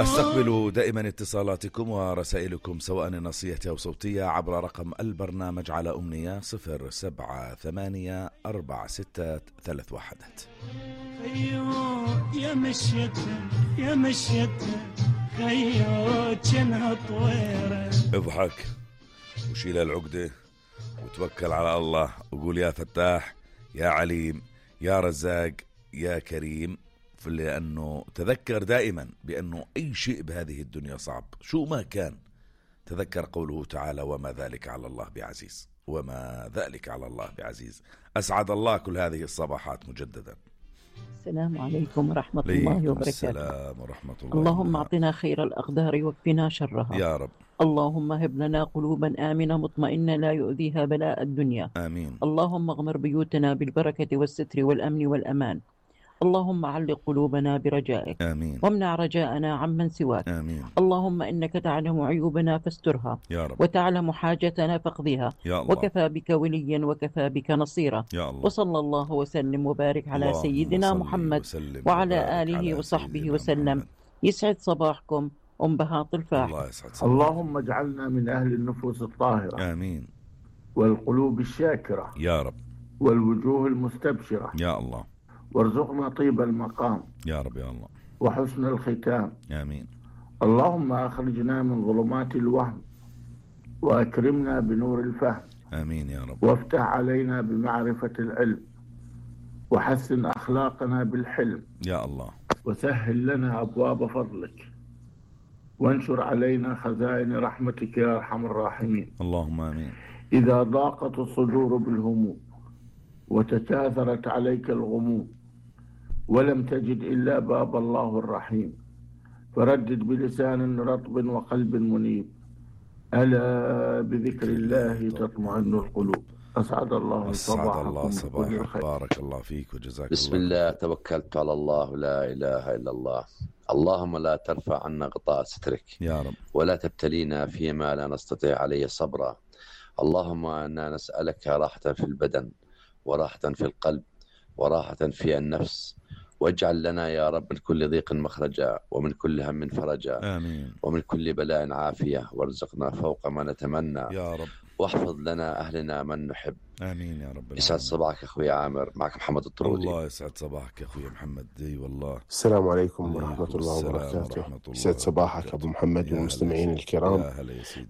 أستقبل دائما اتصالاتكم ورسائلكم سواء نصية أو صوتية عبر رقم البرنامج على أمنية 0784631. يا مشيتها يا مشيتها خيو جنها طويرة. اضحك وشيل العقدة وتوكل على الله وقول يا فتاح يا عليم يا رزاق يا كريم، لأنه تذكر دائما بأنه أي شيء بهذه الدنيا صعب شو ما كان. تذكر قوله تعالى وما ذلك على الله بعزيز، وما ذلك على الله بعزيز. أسعد الله كل هذه الصباحات مجددا. السلام عليكم ورحمة الله وبركاته. السلام ورحمة الله. اللهم أعطنا خير الأقدار واكفنا شرها يا رب. اللهم هب لنا قلوبا آمنة مطمئنة لا يؤذيها بلاء الدنيا. آمين. اللهم اغمر بيوتنا بالبركة والستر والأمن والأمان. اللهم علق قلوبنا برجائك. آمين. وامنع رجاءنا عمن سواك. آمين. اللهم إنك تعلم عيوبنا فاسترها يا رب. وتعلم حاجتنا فاقضيها يا الله. وكفى بك وليا وكفى بك نصيرا. يا الله. وصلى الله وسلم وبارك على سيدنا محمد وعلى آله وصحبه وسلم محمد. يسعد صباحكم أم بهاط الفاح. الله يسعد. اللهم اجعلنا من أهل النفوس الطاهرة. آمين. والقلوب الشاكرة يا رب. والوجوه المستبشرة يا الله. وارزقنا طيب المقام يا رب يا الله. وحسن الختام. آمين. اللهم أخرجنا من ظلمات الوهم وأكرمنا بنور الفهم. آمين يا رب. وافتح علينا بمعرفة العلم وحسن أخلاقنا بالحلم. يا الله. وسهل لنا أبواب فضلك وانشر علينا خزائن رحمتك يا أرحم الراحمين. اللهم آمين. إذا ضاقت الصدور بالهموم وتكاثرت عليك الغموم ولم تجد إلا باب الله الرحيم فردد بلسان رطب وقلب منيب ألا بذكر الله تطمئن القلوب. أسعد الله صباحكم. بارك الله فيك وجزاك الله. بسم الله توكلت على الله لا إله إلا الله. اللهم لا ترفع عنا غطاء سترك يا رب، ولا تبتلينا فيما لا نستطيع عليه صبرا. اللهم إنا نسألك راحة في البدن وراحة في القلب وراحة في النفس، واجعل لنا يا رب من كل ضيق مخرجا ومن كل هم فرجا. آمين. ومن كل بلاء عافية، وارزقنا فوق ما نتمنى يا رب، واحفظ لنا أهلنا من نحب. آمين يا رب. يسعد صباحك أخوي عامر، معك محمد الطرودي. الله يسعد صباحك يا أخوي محمد. دي والله. السلام عليكم ورحمة الله وبركاته. يسعد صباحك أبو محمد والمستمعين الكرام.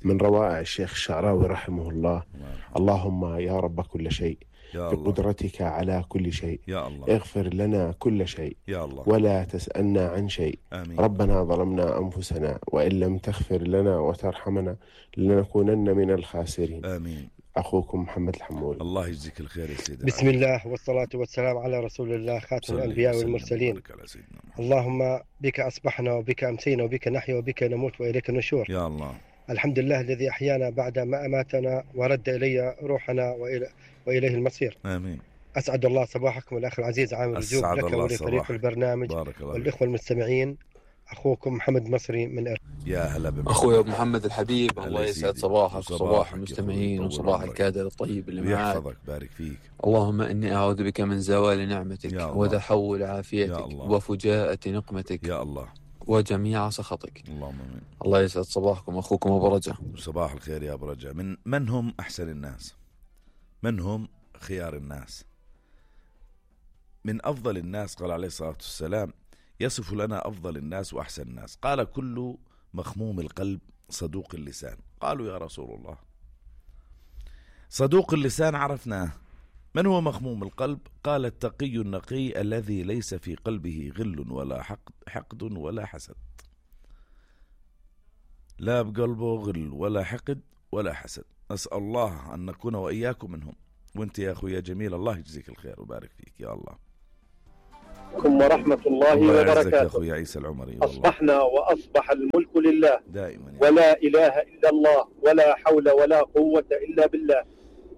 من روائع الشيخ الشعراوي رحمه الله: اللهم يا رب كل شيء بقدرتك على كل شيء، يا الله اغفر لنا كل شيء، يا الله ولا تسألنا عن شيء. آمين. ربنا ظلمنا أنفسنا وإن لم تغفر لنا وترحمنا لنكونن من الخاسرين. آمين. أخوكم محمد الحمول. الله يجزيك الخير يا سيدي. بسم الله والصلاة والسلام على رسول الله خاتم الأنبياء والمرسلين. اللهم بك أصبحنا وبك أمسينا وبك نحيا وبك نموت وإليك النشور. يا الله. الحمد لله الذي أحيانا بعد ما أماتنا ورد إلي روحنا وإليه المصير. آمين. أسعد الله صباحكم الأخ العزيز عامر الجوب، لك ولفريق البرنامج والإخوة المستمعين. أخوكم محمد مصري من يا هلا بك أخوي أبو محمد الحبيب. الله يسعد صباحك وصباح المستمعين وصباح الكادر الطيب اللي معاك. يحفظك بارك فيك. اللهم إني أعوذ بك من زوال نعمتك وتحول عافيتك وفجاءة نقمتك يا الله وجميع سخطك. اللهم آمين. الله يسعد صباحكم. أخوكم أبو رجا. صباح الخير يا أبو رجا. من هم أحسن الناس؟ من هم خيار الناس؟ من أفضل الناس قال عليه الصلاة والسلام: يصف لنا أفضل الناس وأحسن الناس، قال: كل مخموم القلب صدوق اللسان. قالوا يا رسول الله صدوق اللسان عرفناه، من هو مخموم القلب؟ قال: التقي النقي الذي ليس في قلبه غل ولا حقد ولا حسد. لا بقلبه غل ولا حقد ولا حسد. أسأل الله أن نكون وإياكم منهم. وانت يا أخويا جميل، الله يجزيك الخير وبارك فيك يا الله. ورحمة الله وبركاته. يا أخوي عيسى العمري. أصبحنا وأصبح الملك لله دائما ولا إله إلا الله ولا حول ولا قوة إلا بالله.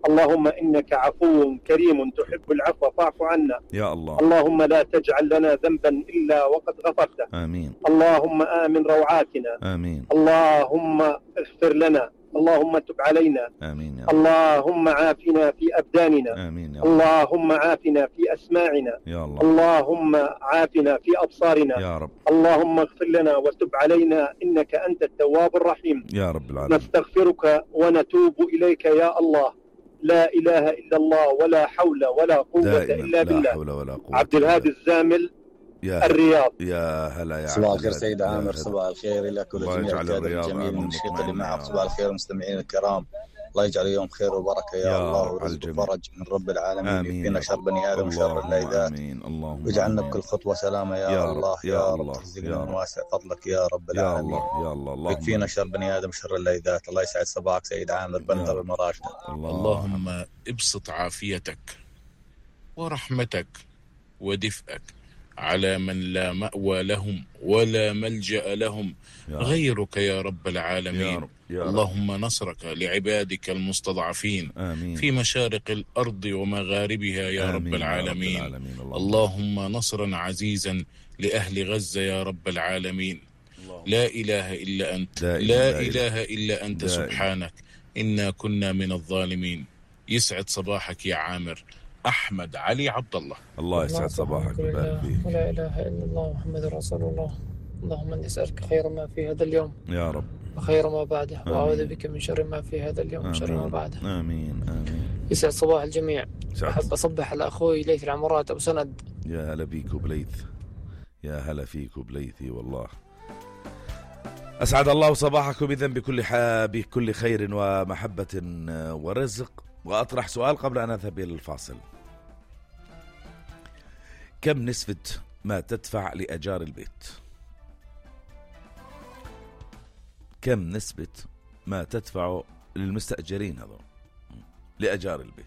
اللهم إنك عفو كريم تحب العفو فاعف عنا يا الله. اللهم لا تجعل لنا ذنبا إلا وقد غفرته. آمين. اللهم آمن روعاتنا. آمين. اللهم اغفر لنا اللهم تب علينا. آمين يا رب. اللهم عافنا في أبداننا. آمين يا رب. اللهم عافنا في أسماعنا. يا الله. اللهم عافنا في أبصارنا يا رب. اللهم اغفر لنا وتب علينا إنك أنت التواب الرحيم يا رب العالمين. نستغفرك ونتوب إليك يا الله. لا إله إلا الله ولا حول ولا قوة إلا بالله. لا حول ولا قوة. عبد الهادي الزامل الرياض. يا هلا يا صباح الخير سيد عامر، صباح الخير لك ولجميع الكادر الجميل والمشرقة اللي معك. صباح الخير المستمعين الكرام، الله يجعل يوم خير وبركة يا الله، ورزق وفرج من رب العالمين، يكفينا شر بني آدم وشر الليلات، واجعلنا بكل خطوة سلامة يا الله يا رب، ترزقنا من واسع فضلك يا رب العالمين يا الله. يكفينا شر بني آدم وشر الليلات. الله يسعد صباحك سيد عامر بندر المراشد. اللهم ابسط عافيتك ورحمتك ودفئك على من لا مأوى لهم ولا ملجأ لهم غيرك يا رب العالمين. اللهم نصرك لعبادك المستضعفين في مشارق الأرض ومغاربها يا رب العالمين. اللهم نصرا عزيزا لأهل غزة يا رب العالمين. لا إله إلا أنت، لا إله إلا أنت سبحانك إنا كنا من الظالمين. يسعد صباحك يا عامر. أحمد علي عبد الله. الله يسعد صباحك ويبارك فيك. ولا إله إلا الله محمد رسول الله. اللهم إني أسألك خير ما في هذا اليوم يا رب وخير ما بعده، وأعوذ بك من شر ما في هذا اليوم وشر ما بعده. آمين آمين. يسعد صباح الجميع. أحب أصبح على أخوي ليث العمرات أبو سند. يا هلا بيك وبليث، يا هلا فيك وبليثي والله. أسعد الله صباحكم إذن بكل خير ومحبة ورزق. وأطرح سؤال قبل أن أذهب إلى الفاصل. كم نسبة ما تدفع لأجار البيت؟ كم نسبة ما تدفع للمستأجرين هذول لأجار البيت؟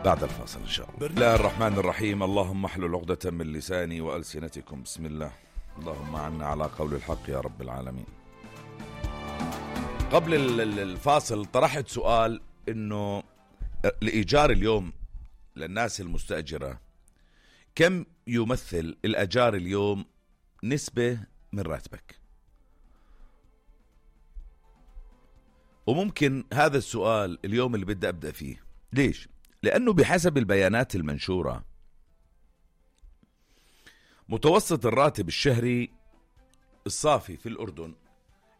بعد الفاصل إن شاء الله. بسم الله الرحمن الرحيم. اللهم احلل عقدة من لساني وألسنتكم. بسم الله. اللهم عنا على قول الحق يا رب العالمين. قبل الفاصل طرحت سؤال إنه الإيجار اليوم للناس المستأجرة كم يمثل الأجار اليوم نسبة من راتبك؟ وممكن هذا السؤال اليوم اللي بدي أبدأ فيه. ليش؟ لأنه بحسب البيانات المنشورة متوسط الراتب الشهري الصافي في الأردن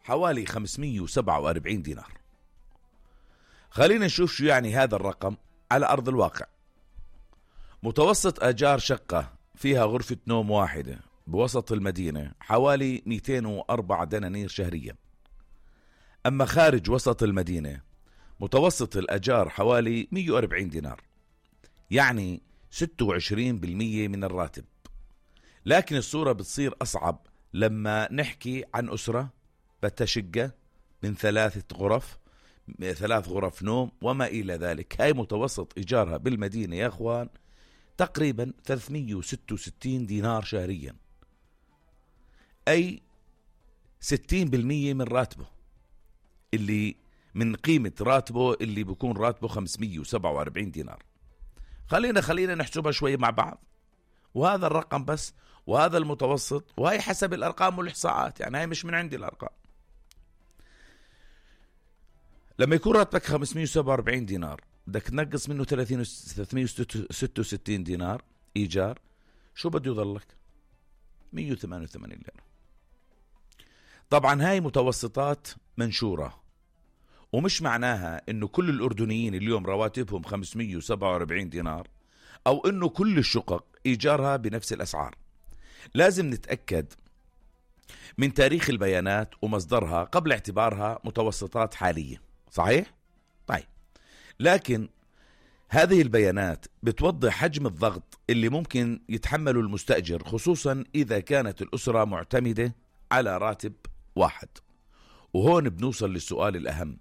حوالي 547 دينار. خلينا نشوف شو يعني هذا الرقم على أرض الواقع. متوسط أجار شقة فيها غرفة نوم واحدة بوسط المدينة حوالي 204 دنانير شهريا. أما خارج وسط المدينة متوسط الأجار حوالي 140 دينار، يعني 26% من الراتب. لكن الصورة بتصير أصعب لما نحكي عن أسرة بتشقة من 3 غرف نوم وما إلى ذلك. هاي متوسط إيجارها بالمدينة يا أخوان تقريبا 366 دينار شهريا، أي 60% من راتبه، اللي من قيمة راتبه اللي بيكون راتبه 547 دينار. خلينا نحسبها شوي مع بعض. وهذا الرقم بس، وهذا المتوسط، وهي حسب الأرقام والإحصاءات، يعني هاي مش من عندي الأرقام. لما يكون راتبك 547 دينار بدك تنقص منه 366 دينار إيجار، شو بده يضلك؟ 188 ليرة. طبعا هاي متوسطات منشورة، ومش معناها انه كل الأردنيين اليوم رواتبهم 547 دينار او انه كل الشقق إيجارها بنفس الأسعار. لازم نتأكد من تاريخ البيانات ومصدرها قبل اعتبارها متوسطات حالية. صحيح؟ طيب، لكن هذه البيانات بتوضح حجم الضغط اللي ممكن يتحمله المستأجر، خصوصا إذا كانت الأسرة معتمدة على راتب واحد. وهون بنوصل للسؤال الأهم: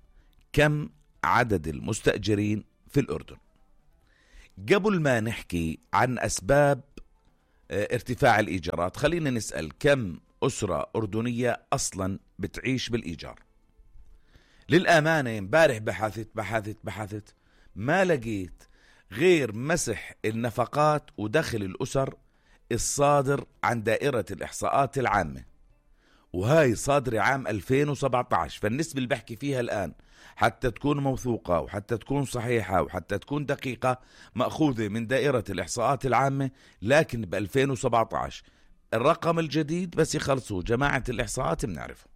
كم عدد المستأجرين في الأردن؟ قبل ما نحكي عن أسباب ارتفاع الإيجارات، خلينا نسأل كم أسرة أردنية أصلا بتعيش بالإيجار. للأمانة امبارح بحثت ما لقيت غير مسح النفقات ودخل الأسر الصادر عن دائرة الإحصاءات العامة، وهاي صادرة عام 2017. فالنسبة اللي بحكي فيها الآن حتى تكون موثوقة وحتى تكون صحيحة وحتى تكون دقيقة مأخوذة من دائرة الإحصاءات العامة، لكن ب 2017 الرقم الجديد بس يخلصوا جماعة الإحصاءات بنعرفه.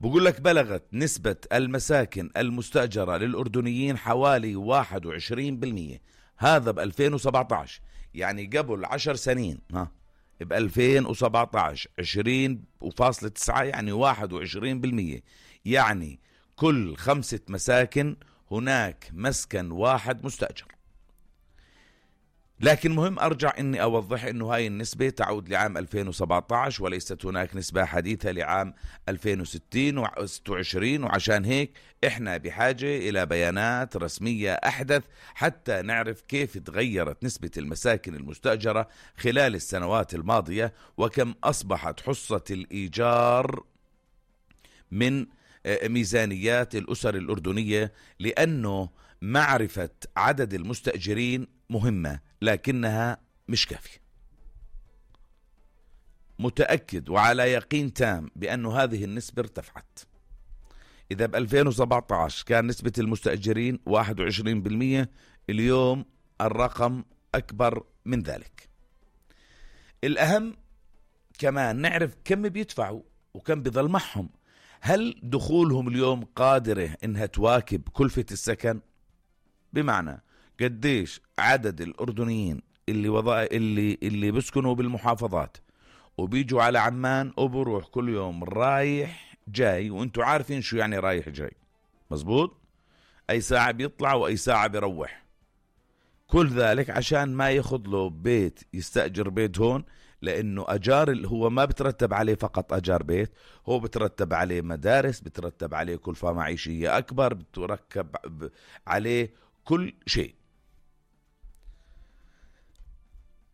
بقول لك بلغت نسبة المساكن المستأجرة للأردنيين حوالي 21%. هذا ب 2017، يعني قبل 10 سنين ب 2017 20.9 يعني 21%. يعني كل 5 مساكن هناك مسكن واحد مستأجر. لكن مهم أرجع إني أوضح إنه هاي النسبة تعود لعام 2017 وليست هناك نسبة حديثة لعام 2060 و26. وعشان هيك إحنا بحاجة إلى بيانات رسمية أحدث حتى نعرف كيف تغيرت نسبة المساكن المستأجرة خلال السنوات الماضية، وكم أصبحت حصة الإيجار من ميزانيات الأسر الأردنية، لأنه معرفة عدد المستأجرين مهمة لكنها مش كافية. متأكد وعلى يقين تام بأنه هذه النسبة ارتفعت. إذا ب 2017 كان نسبة المستأجرين 21%، اليوم الرقم أكبر من ذلك. الأهم كمان نعرف كم بيدفعوا وكم بيظل معهم. هل دخولهم اليوم قادرة إنها تواكب كلفة السكن؟ بمعنى قديش عدد الأردنيين اللي بيسكنوا بالمحافظات وبيجوا على عمان وبروح كل يوم رايح جاي، وانتوا عارفين شو يعني رايح جاي، مزبوط؟ أي ساعة بيطلع وأي ساعة بيروح. كل ذلك عشان ما ياخذ له بيت، يستأجر بيت هون، لأنه أجار هو ما بترتب عليه فقط أجار بيت، هو بترتب عليه مدارس، بترتب عليه كلفة معيشية أكبر، بتركب عليه كل شيء.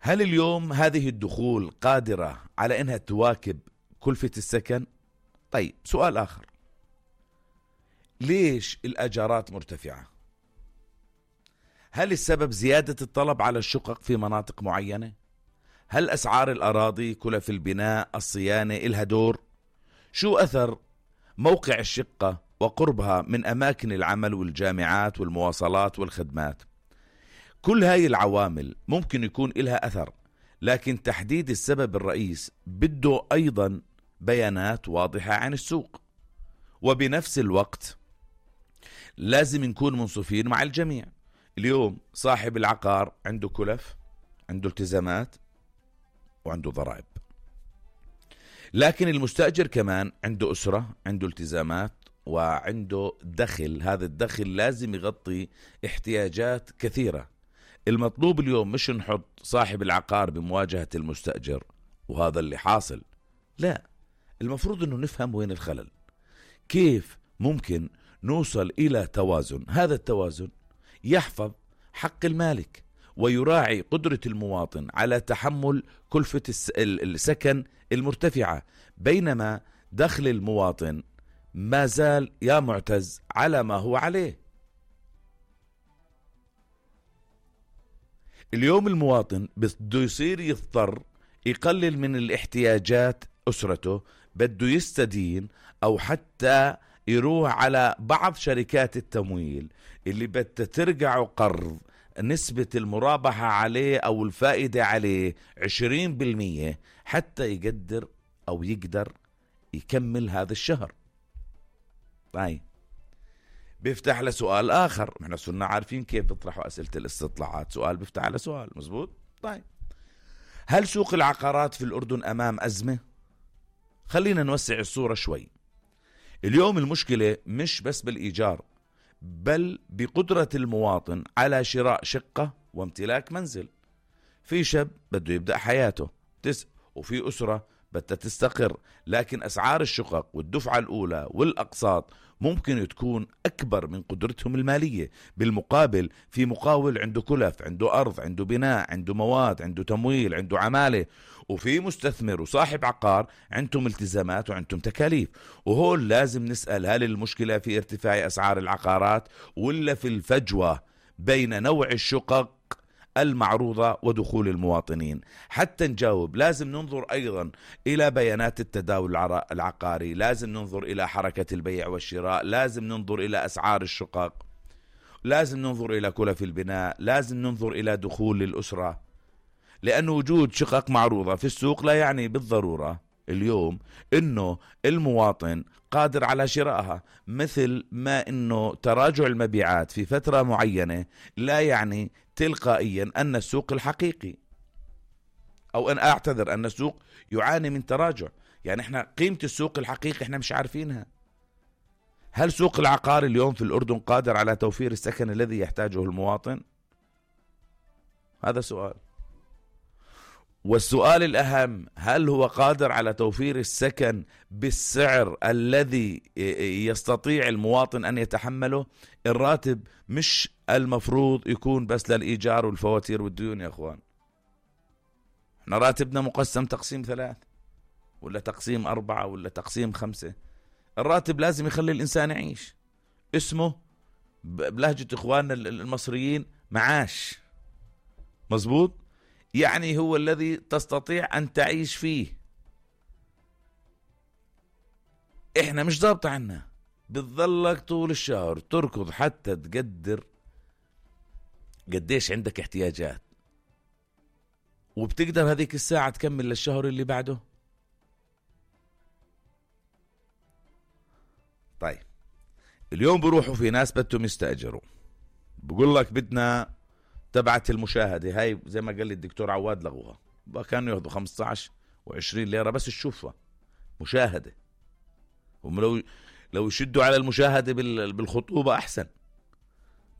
هل اليوم هذه الدخول قادرة على أنها تواكب كلفة السكن؟ طيب سؤال آخر، ليش الأجارات مرتفعة؟ هل السبب زيادة الطلب على الشقق في مناطق معينة؟ هل أسعار الأراضي، كلف البناء، الصيانة إلها دور؟ شو أثر موقع الشقة وقربها من أماكن العمل والجامعات والمواصلات والخدمات؟ كل هاي العوامل ممكن يكون إلها أثر، لكن تحديد السبب الرئيس بده أيضا بيانات واضحة عن السوق. وبنفس الوقت لازم نكون منصفين مع الجميع. اليوم صاحب العقار عنده كلف، عنده التزامات، وعنده ضرائب، لكن المستأجر كمان عنده أسرة، عنده التزامات، وعنده دخل. هذا الدخل لازم يغطي احتياجات كثيرة. المطلوب اليوم مش نحط صاحب العقار بمواجهة المستأجر، وهذا اللي حاصل. لا، المفروض أنه نفهم وين الخلل، كيف ممكن نوصل إلى توازن. هذا التوازن يحفظ حق المالك ويراعي قدرة المواطن على تحمل كلفة السكن المرتفعة، بينما دخل المواطن ما زال يا معتز على ما هو عليه. اليوم المواطن بده يصير يضطر يقلل من الاحتياجات أسرته، بده يستدين أو حتى يروح على بعض شركات التمويل اللي بدها ترجع قرض نسبة المرابحة عليه أو الفائدة عليه 20% حتى يقدر أو يقدر يكمل هذا الشهر. طيب بيفتح لسؤال آخر. نحن صرنا عارفين كيف بيطرحوا أسئلة الاستطلاعات، سؤال بيفتح على سؤال، مزبوط؟ طيب هل سوق العقارات في الأردن أمام أزمة؟ خلينا نوسع الصورة شوي. اليوم المشكلة مش بس بالإيجار، بل بقدرة المواطن على شراء شقة وامتلاك منزل. في شاب بده يبدأ حياته وفي أسرة بدها تستقر، لكن أسعار الشقق والدفعة الأولى والأقساط ممكن تكون أكبر من قدرتهم المالية. بالمقابل في مقاول عنده كلف، عنده أرض، عنده بناء، عنده مواد، عنده تمويل، عنده عمالة، وفي مستثمر وصاحب عقار عندهم التزامات وعندهم تكاليف. وهول لازم نسأل، هل المشكلة في ارتفاع أسعار العقارات ولا في الفجوة بين نوع الشقق المعروضة ودخول المواطنين. حتى نجاوب لازم ننظر أيضا إلى بيانات التداول العقاري، لازم ننظر إلى حركة البيع والشراء، لازم ننظر إلى أسعار الشقق، لازم ننظر إلى كلف البناء، لازم ننظر إلى دخول الأسرة، لأن وجود شقق معروضة في السوق لا يعني بالضرورة اليوم إنه المواطن قادر على شرائها، مثل ما إنه تراجع المبيعات في فترة معينة لا يعني تلقائيا أن السوق الحقيقي، أو أن أعتذر أن السوق يعاني من تراجع. يعني إحنا قيمة السوق الحقيقي إحنا مش عارفينها. هل سوق العقار اليوم في الأردن قادر على توفير السكن الذي يحتاجه المواطن؟ هذا سؤال. والسؤال الأهم، هل هو قادر على توفير السكن بالسعر الذي يستطيع المواطن أن يتحمله؟ الراتب مش المفروض يكون بس للإيجار والفواتير والديون يا أخوان. احنا راتبنا مقسم تقسيم 3 ولا تقسيم 4 ولا تقسيم 5. الراتب لازم يخلي الإنسان يعيش. اسمه بلهجة إخواننا المصريين معاش. مظبوط؟ يعني هو الذي تستطيع أن تعيش فيه. إحنا مش ضابط عنا، بتظلك طول الشهر تركض حتى تقدر قديش عندك احتياجات، وبتقدر هذيك الساعة تكمل للشهر اللي بعده. طيب اليوم بروحوا في ناس بدهم يستأجروا، بقول لك بدنا تبعت المشاهدة هاي زي ما قال لي الدكتور عواد لغوها، كانوا ياخذوا 15 و20 ليرة بس تشوفها مشاهدة. هم لو يشدوا على المشاهدة بالخطوبة أحسن.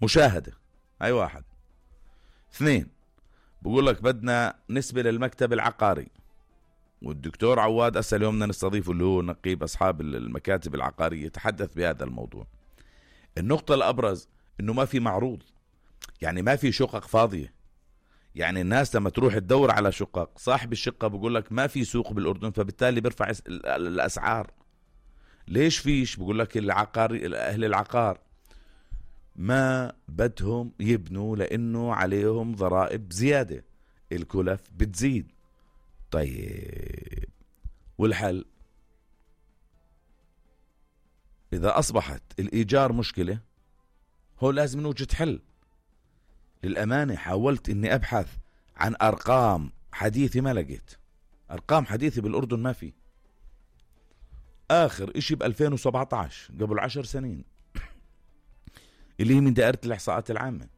مشاهدة هاي 1. 2 بقول لك بدنا نسبة للمكتب العقاري، والدكتور عواد أسأل يومنا نستضيفه اللي هو نقيب أصحاب المكاتب العقارية يتحدث بهذا الموضوع. النقطة الأبرز إنه ما في معروض، يعني ما في شقق فاضية. يعني الناس لما تروح تدور على شقق، صاحب الشقة بقول لك ما في سوق بالأردن، فبالتالي بيرفع الأسعار. ليش فيش؟ بقول لك أهل العقار ما بدهم يبنوا لأنه عليهم ضرائب زيادة، الكلف بتزيد. طيب والحل؟ إذا أصبحت الإيجار مشكلة هو لازم نوجد حل. للأمانة حاولت إني أبحث عن أرقام حديثة ما لقيت. أرقام حديثة بالأردن ما في. آخر إشي ب2017 قبل 10 سنين اللي هي من دائرة الإحصاءات العامة.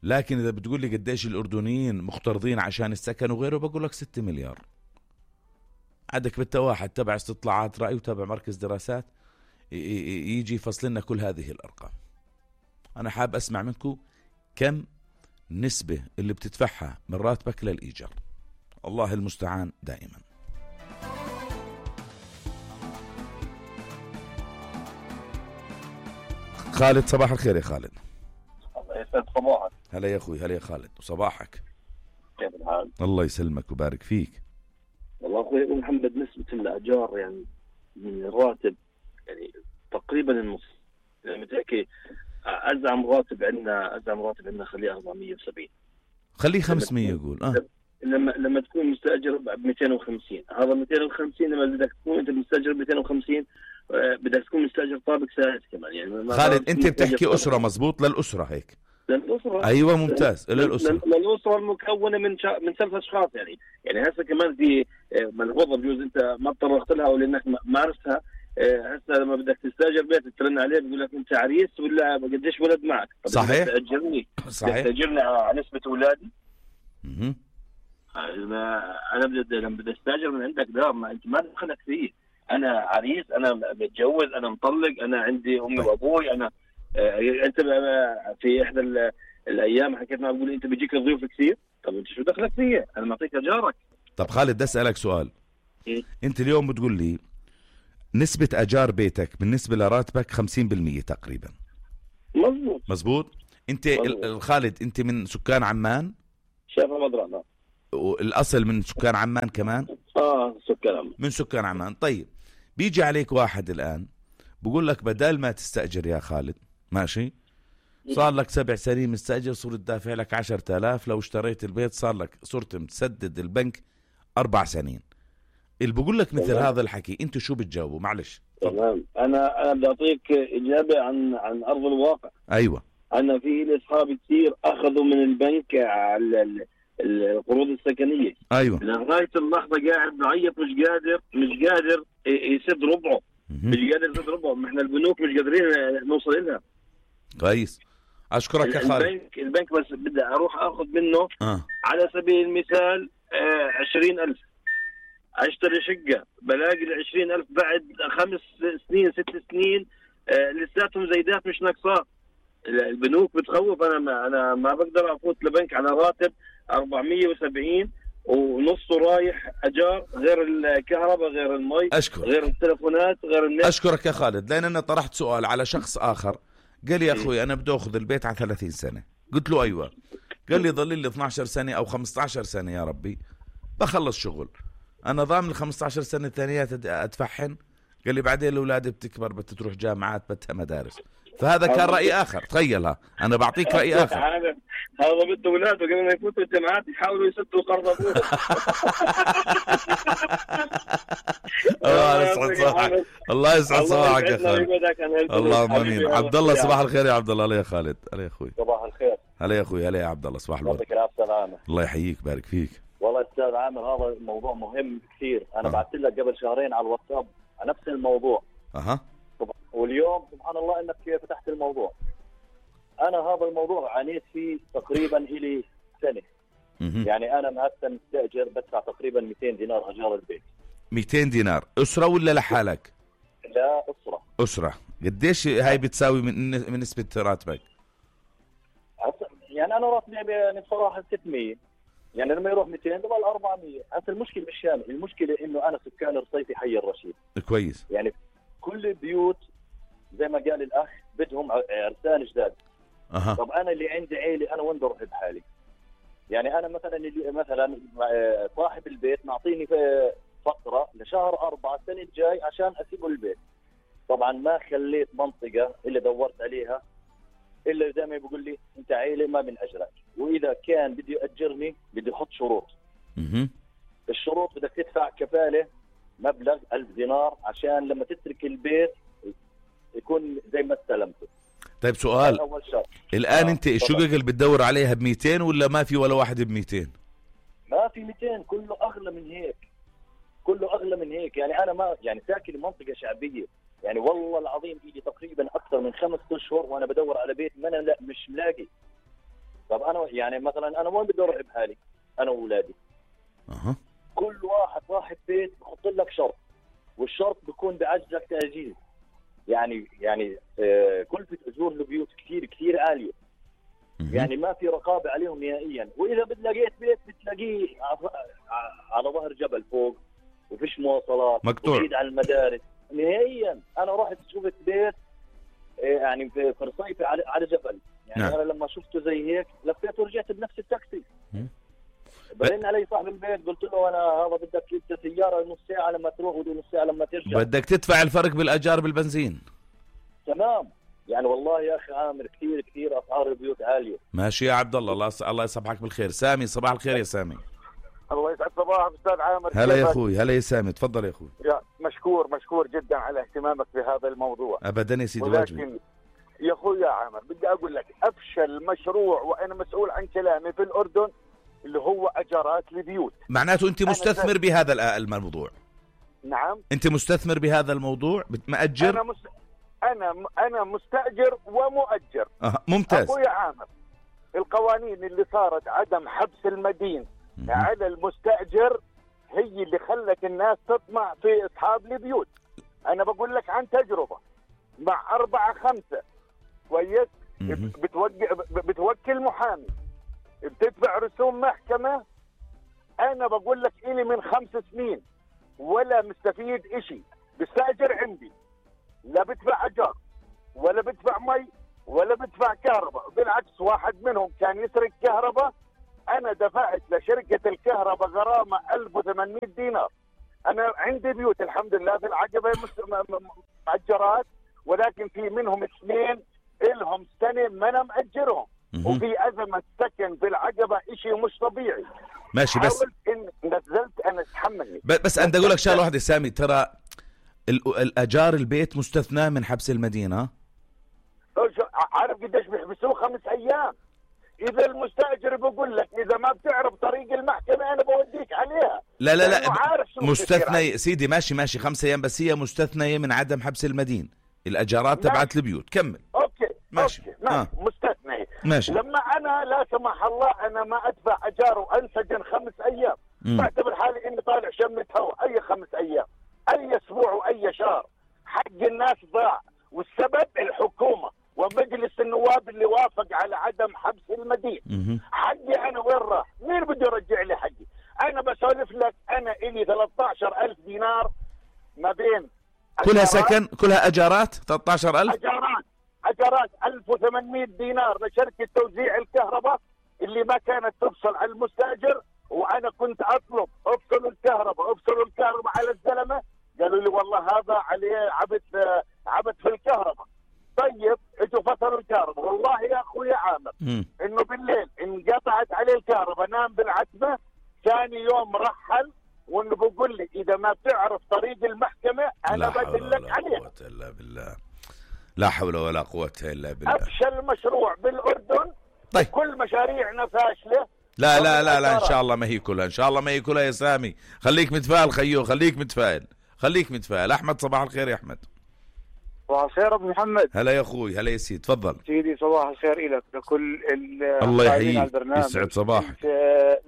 لكن إذا بتقول لي قديش الأردنيين مقترضين عشان السكن وغيره، بقول لك 6 مليار. عندك بالتواحد تبع استطلاعات رأي وتبع مركز دراسات يجي يفصل لنا كل هذه الأرقام. أنا حاب أسمع منكم كم نسبة اللي بتدفعها من راتبك للإيجار. الله المستعان دائما. خالد صباح الخير يا خالد. الله يسعد صباحك. هلا يا أخوي، هلا يا خالد وصباحك. كيف الحال؟ الله يسلمك وبارك فيك. والله أخوي أبو محمد نسبة الأجار يعني من الراتب يعني تقريبا النص. يعني متأكد أزعم راتب عندنا خليه 470. خليه 500 يقول. لما تكون مستأجر ب 250، هذا 250 لما بدك تكون أنت مستأجر ب 250 بدك تكون مستأجر طابق ساعات كمان. يعني خالد أنت بتحكي أسرة مظبوط؟ للأسرة هيك؟ للأسرة. أيوة ممتاز. للأسرة المكونة من 3 أشخاص يعني هسه كمان في ملحوظة بجوز أنت ما تطرقت لها أو لأنك ما عرفتها. هسه لما بدك تستأجر بيت ترن عليه بيقول لك أنت عريس ولا قديش ولد معك؟ صحيح. تأجرني. صحيح. تأجرني على نسبة أولادي. أنا لما بدي أستأجر من عندك دار ما أنت ما دخلك فيه. أنا عريس، أنا متجوز، أنا مطلق، أنا عندي أمي وأبوي. أنا أنت في إحدى الأيام حكيت معه بقول أنت بيجيك ضيوف كثير. طب أنت شو دخلك فيه؟ أنا معطيك أجارك. طب خالد بدي أسألك سؤال. أنت اليوم بتقول لي نسبة أجار بيتك بالنسبة لراتبك 50% تقريبا. مظبوط. أنت خالد أنت من سكان عمان؟ شايف مضرعنا. والأصل من سكان عمان كمان؟ سكان عمان. من سكان عمان. طيب بيجي عليك واحد الآن بقول لك بدل ما تستأجر يا خالد، ماشي، صار لك 7 سنين مستأجر، صرت دافع لك 10,000. لو اشتريت البيت صار لك صرت متسدد البنك 4 سنين. اللي بقول لك مثل هذا الحكي انتوا شو بتجاوبوا؟ معلش. تمام. انا بدي اعطيك اجابه عن ارض الواقع. ايوه. انا في لي اصحاب كثير اخذوا من البنك على القروض السكنيه. ايوه. لغايه اللحظه قاعد بعيط، مش قادر يسد ربعه. مش قادر يسد ربعه. احنا البنوك مش قادرين نوصل لها. كويس. اشكرك يا خالد. البنك بس بدي اروح اخذ منه على سبيل المثال 20,000، اشتري شقه بلاقي ال20,000 بعد 5 سنين 6 سنين لساتهم زيدات مش ناقصات. البنوك بتخوف. انا ما بقدر افوت لبنك على راتب 470 ونصه رايح اجار، غير الكهرباء غير المي غير التلفونات غير النت. اشكرك يا خالد، لان انا طرحت سؤال على شخص اخر قال لي يا اخوي انا بدي اخذ البيت على 30 سنه. قلت له ايوه. قال لي ضل لي 12 سنه او 15 سنه يا ربي بخلص شغل، انا ضامن ال 15 سنه الثانيات ادفعهن. قال لي بعدين الاولاد بتكبر بتروح جامعات بدها مدارس. فهذا كان راي اخر. تخيلها انا بعطيك راي اخر. هذا بده اولاده قبل ما يفوتوا الجامعات يحاولوا يسدوا قرض ابوه. الله يسعد صباحك. الله يسعد صباحك يا خالد. اللهم امين. عبد الله صباح الخير يا عبد الله. هلا يا خالد. هلا يا اخوي. صباح الخير. هلا يا اخوي. هلا يا عبد الله. صباح الورد. الله يحييك بارك فيك. والله استاذ عامر هذا الموضوع مهم كثير. انا بعثت لك قبل شهرين على الواتساب على نفس الموضوع. واليوم سبحان الله انك فتحت الموضوع. انا هذا الموضوع عانيت فيه تقريبا الي سنه. يعني انا مهتم مستاجر بدفع تقريبا 200 دينار اجار البيت. 200 دينار اسره ولا لحالك؟ لا اسره. قديش هاي بتساوي من نسبه راتبك؟ يعني انا راتبي يعني بصراحه 600. يعني لما يروح 200 ضل 400. هسه المشكله مش شامل، المشكله انه انا سكان رصيفي حي الرشيد. كويس. يعني كل البيوت زي ما قال الاخ بدهم عرسان جداد. طب انا اللي عندي عيلة انا وين بروح بحالي؟ يعني انا مثلا صاحب البيت معطيني فتره لشهر 4 السنه الجاي عشان اسيبه البيت. طبعا ما خليت منطقه اللي دورت عليها الا زي ما بيقول لي انت عيلة ما بنأجرك، واذا كان بده يأجرني بده يحط شروط. الشروط بدك تدفع كفاله مبلغ 1000 دينار عشان لما تترك البيت يكون زي ما استلمته. طيب سؤال، الآن انت الشقق اللي بتدور عليها ب200 ولا ما في ولا واحد ب200؟ ما في 200، كله أغلى من هيك، كله أغلى من هيك. يعني أنا ما يعني ساكن منطقة شعبية، يعني والله العظيم إيدي تقريبا أكثر من 5 أشهر وأنا بدور على بيت ما أنا لا مش ملاقي. طب أنا يعني مثلا أنا وين بدي أروح بحالي أنا وأولادي؟ كل واحد صاحب بيت بحط لك شرط، والشرط بيكون بعجزك تأجيل. يعني كلفة أجور البيوت كثير عالية. يعني ما في رقابة عليهم نهائيا. وإذا لقيت بيت بتلاقيه على ظهر جبل فوق وفيش مواصلات، مقطوع بعيد عن المدارس نهائيا. أنا رحت شفت بيت يعني في رصيفي على جبل. يعني نعم. أنا لما شفته زي هيك لفيت ورجعت بنفس التاكسي. برن علي صاحب البيت قلت له أنا هذا بدك انت سيارة نص ساعة لما تروح ونص ساعة لما ترجع، بدك تدفع الفرق بالأجار بالبنزين. تمام. يعني والله يا أخي عامر كثير أسعار البيوت عالية. ماشي يا عبد الله. الله يصبحك بالخير. سامي صباح الخير يا سامي. الله يسعد صباحك أستاذ عامر. هلا يا أخوي. هلا يا سامي. تفضل يا أخوي. يا مشكور جدا على اهتمامك بهذا الموضوع. أبدا يا سيدي واجبي. يا أخوي يا عامر بدي أقول لك أفشل مشروع وأنا مسؤول عن كلامي في الأردن اللي هو أجارات البيوت. معناته أنت مستثمر بهذا الموضوع؟ نعم. أنت مستثمر بهذا الموضوع مأجر؟ أنا مستأجر ومؤجر. ممتاز. أخوي عامر القوانين اللي صارت عدم حبس المدين على المستأجر هي اللي خلت الناس تطمع في أصحاب البيوت. أنا بقول لك عن تجربة مع 4-5 كويس. بتوكل محامي، بتدفع رسوم محكمة. أنا بقول لك إلي من 5 سنين ولا مستفيد إشي. بستأجر عندي لا بدفع أجار ولا بدفع مي ولا بدفع كهرباء. بالعكس واحد منهم كان يسرق كهرباء، أنا دفعت لشركة الكهرباء غرامة 1800 دينار. أنا عندي بيوت الحمد لله في العقبة مؤجرات، ولكن في منهم 2 إلهم سنة ما أنا مأجرهم، وفي أزمة سكن في العقبة إشي مش طبيعي. ماشي، بس إن نزلت أنا أتحملني. بس أنا أقول لك شغلة واحدة سامي، ترى الأجار البيت مستثنى من حبس المدينة. عارف قديش بيحبسوه؟ 5 أيام. إذا المستأجر بقول لك إذا ما بتعرف طريق المحكمة أنا بوديك عليها. لا مستثنى سيدي، ماشي 5 أيام، بس هي مستثنية من عدم حبس المدين، الأجارات تبعت البيوت. كمل. أوكي ماشي. مستثنية. ماشي. لما أنا لا سمح الله أنا ما أدفع أجار وأنسجن 5 أيام، بعتبر حالي إني طالع شمة هوا. أي 5 أيام، أي أسبوع وأي شهر، حق الناس ضاع، والسبب الحكومة ومجلس النواب اللي وافق على عدم حبس المدين. حقي أنا وين راح؟ مين بده يرجع لي حقي؟ أنا بسولف لك، أنا إلي 13,000 دينار ما بين كلها سكن، كلها أجارات. 13,000 أجارات 1800 دينار لشركة توزيع الكهرباء اللي ما كانت تفصل على المستأجر، وأنا كنت أطلب افصلوا الكهرباء على الزلمة، قالوا لي والله هذا عليه عبث في الكهرباء. طيب اجوا فصلوا الكهرباء، والله يا اخوي عامر انه بالليل انقطعت عليه الكهرباء، نام بالعتمة، ثاني يوم رحل، وانه بقول لي اذا ما بتعرف طريق المحكمة انا بدلك عليها. لا حول ولا قوة الا بالله. افشل مشروع بالاردن. طيب كل مشاريعنا فاشلة. لا ان شاء الله ما هي كلها، ان شاء الله ما هي كلها يا سامي. خليك متفائل خيو، خليك متفائل. احمد صباح الخير يا احمد. صباح الخير ابو محمد. هلا يا اخوي. هلا يا سيدي، تفضل سيدي. صباح الخير لك لكل الله يحييك، يسعد صباحك.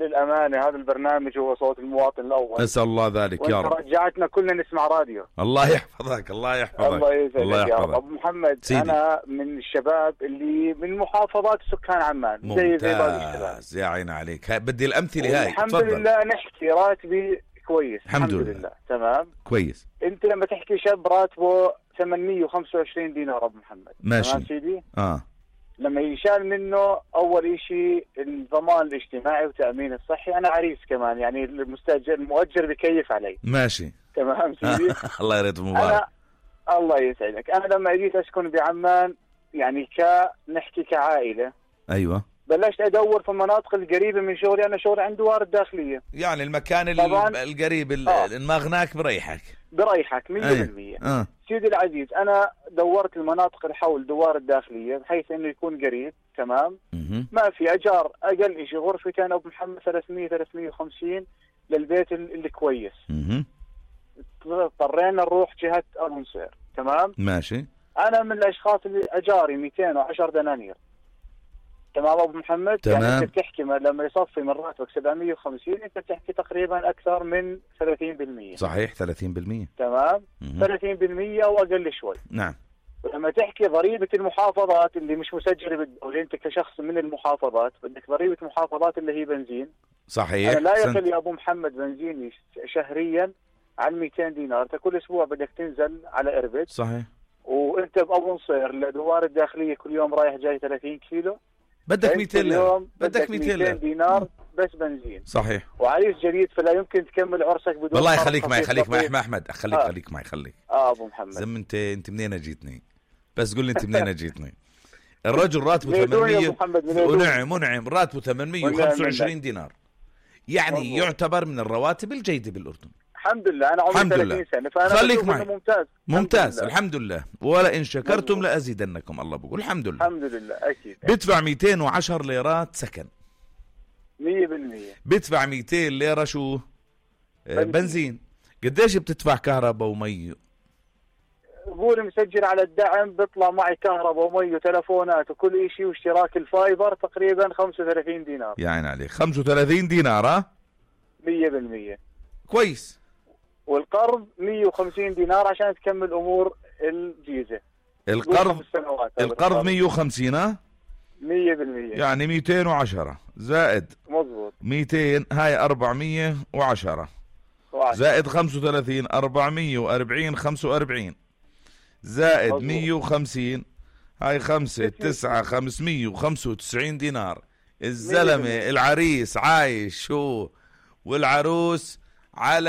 للامانه هذا البرنامج هو صوت المواطن الاول، اسال الله ذلك يا رب. رجعتنا كلنا نسمع راديو. الله يحفظك. الله يسعدك يا رب. ابو محمد سيدي. انا من الشباب اللي من محافظات سكان عمان. ممتاز يا عين عليك. بدي الامثله هاي. الحمد لله نحكي راتبي كويس. الحمد لله. تمام كويس. انت لما تحكي شاب راتبه 825 دينار ابو محمد، ماشي تمام سيدي؟ لما يشال منه اول شيء الضمان الاجتماعي وتامين الصحي. انا عريس كمان يعني المؤجر بكيف علي. ماشي تمام سيدي. الله يرد مبارك. الله يسعدك. انا لما جيت اسكن بعمان يعني نحكي كعائله. ايوه. بلشت ادور في المناطق القريبه من شغلي. انا شغلي عند وارد داخليه، يعني المكان القريب المغناك بريحك 100%. سيدي العزيز انا دورت المناطق الحول دوار الداخليه بحيث انه يكون قريب. تمام. ما في اجار اقل شيء غرفتين ابو محمد 300-350 للبيت اللي كويس. اضطرينا نروح جهه ابو نصير. تمام ماشي. انا من الاشخاص اللي اجاري 210 دنانير. تمام ابو محمد. تمام. يعني انت بتحكي لما يصفي من راتبك 750 انت بتحكي تقريبا اكثر من 30%. صحيح 30%. تمام. 30% او اقل شوي. نعم. ولما تحكي ضريبه المحافظات اللي مش مسجله بالدوله، انت كشخص من المحافظات بدك ضريبه محافظات اللي هي بنزين. صحيح. أنا لا يقل يا ابو محمد بنزيني شهريا عن 200 دينار. انت كل اسبوع بدك تنزل على اربد. صحيح. وانت بابو نصير لدوار الداخليه كل يوم رايح جاي 30 كيلو. بدك 200 بدك 200 دينار بس بنزين. صحيح. وعريس جديد فلا يمكن تكمل عرسك بدون. والله خليك معي احمد خليك معي. ابو محمد زم انت منين جيتني؟ بس قول لي انت منين جيتني؟ الرجل راتبه 800 منعم راتبه 825 دينار، يعني يعتبر من الرواتب الجيدة بالأردن. الحمد لله. أنا عمري 30 سنة فأنا خليك معي. ممتاز. الحمد لله. ولئن شكرتم لأزيدنكم. الله بقول الحمد لله. الحمد لله أكيد. بدفع 210 ليرات سكن 100%. بدفع 200 ليرة شو؟ بنزين. قديش بتدفع كهرباء ومي؟ بقول مسجل على الدعم بيطلع معي كهرباء ومي وتلفونات وكل شيء واشتراك الفايبر تقريبا 35 دينار. يعني عليك 35 دينار 100%. كويس. والقرض 150 دينار عشان تكمل امور الجيزه. القرض 150 100%. يعني 210 زائد مظبوط 200 هاي 410 زائد 35 440 45 زائد مظبوط. 150 هاي 5 9 595 دينار. الزلمة العريس عايش شو والعروس على